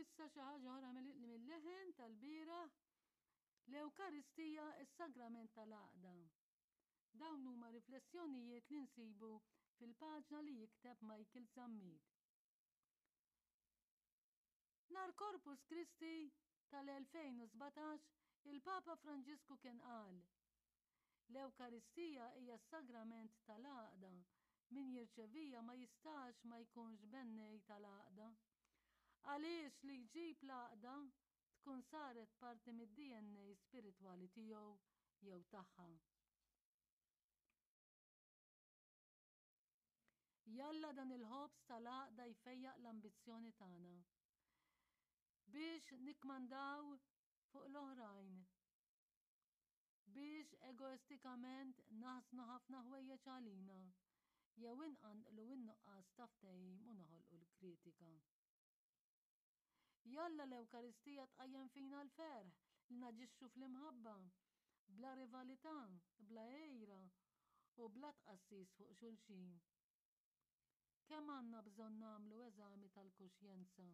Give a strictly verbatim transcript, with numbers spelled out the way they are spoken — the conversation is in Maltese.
issa xi ħaġa oħra mill-leħen tal-bieraħ, l-Ewkaristija, is-Sagrament tal-Għaqda. Dawn huma riflessjonijiet li nsibu fil-paġna li jikteb Michael Zammit. Nhar Corpus Christi tal-elfejn u sbatax, il-Papa Franġisku kien qal: L-Ewkaristija hija s-sagrament tal-għaqda, min jirċevija ma jistax ma jkunx bennej tal-għaqda. Għaliex li jġib l-għaqda tkun saret parti mid-D N A spiritwali tiegħu jew tagħha. Jalla dan il-ħobż tal-għaqda jfejjaq l-ambizzjoni tagħna biex nikmandaw fuq l-oħrajn, biex egoistikament naħsnu ħafna ħwejjeġ għalina, jew inqanqlu n-nuqqas ta' ftehim u noħolqu l-kritika. Jalla l-Ewkaristija tqajjem fina l-ferħ li naġixxu fl-imħabba, bla rivalità, bla għejra u bla tqassis fuq xulxin. Kemm għandna bżonn nagħmlu eżami tal-kuxjenza?